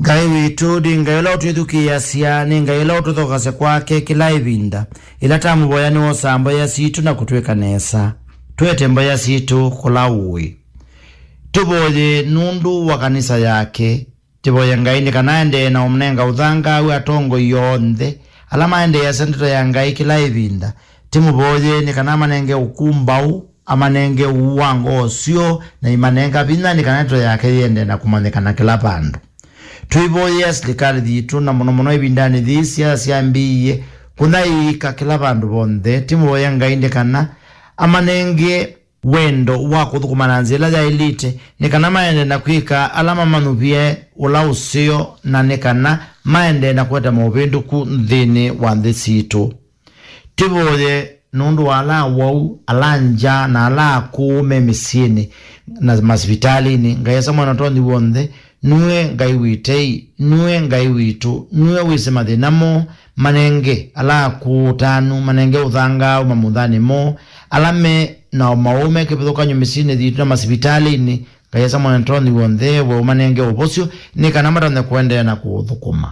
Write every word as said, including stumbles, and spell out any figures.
Ngai witũ nĩ Ngai ũla ũtwĩthukĩĩasya, nĩ Ngai ũla ũtũthokasya kwake kĩla ĩvinda. Ĩla tamũvoya nĩwosaa mboya sitũ na kũtwĩka nesa. Tũete mboya sitũ kũla ũĩ. Tũvoye nũndũ wa kanisa yake. Tĩvoye Ngai nĩ kana aendee na ũmũnenga ũthangaau atongoi onthe ala maendeeasya ndeto ya Ngai kĩla ĩvinda. Tĩmũvoye nĩ kana amanenge ũkũmbaũ, amanenge ũu wa ngoo syoo, na imanenga vinya nĩ kana ndeto yake yĩendee na kũmanyĩkana kĩla vandũ. Tũivoyea silikalĩ yitũ, na mũno mũno ĩvindanĩ yĩĩ siasa syambĩĩie kũnyaĩĩka kĩla vandũ vonthe. Tĩmũvoye Ngai nĩ kana amanenge wendo wa kũthũkũma na nzĩa ĩla yaĩlĩte, nĩ kana maendee na kwĩka ala mamanyuvie ũla ũseo, na nĩ kana maendee na kũete maũvĩndũku nthĩnĩ wa nthĩ sitũ. Tĩvoye nũndũ wa ala awau, ala ngya, na ala akũũ me mĩsyĩnĩ na masivitalĩnĩ. Ngai Asa Mwene Ũtonyi W'onthe, nue Ngai wĩ tei, nue Ngai witũ, nue wĩsĩ mathĩna moo. Manenge ala akũũ ũtanu, manenge ũthangaau mamuthanĩ moo. Ala me na ũmaũũ me kĩvathũkany'o mĩsyĩnĩ yitũ na masivitalĩnĩ, Ngai Asa Mwene Ũtonyi W'onthe, we ũmanenge ũvosyo, nĩ kana matonye kũendeea na kũũthũkũma.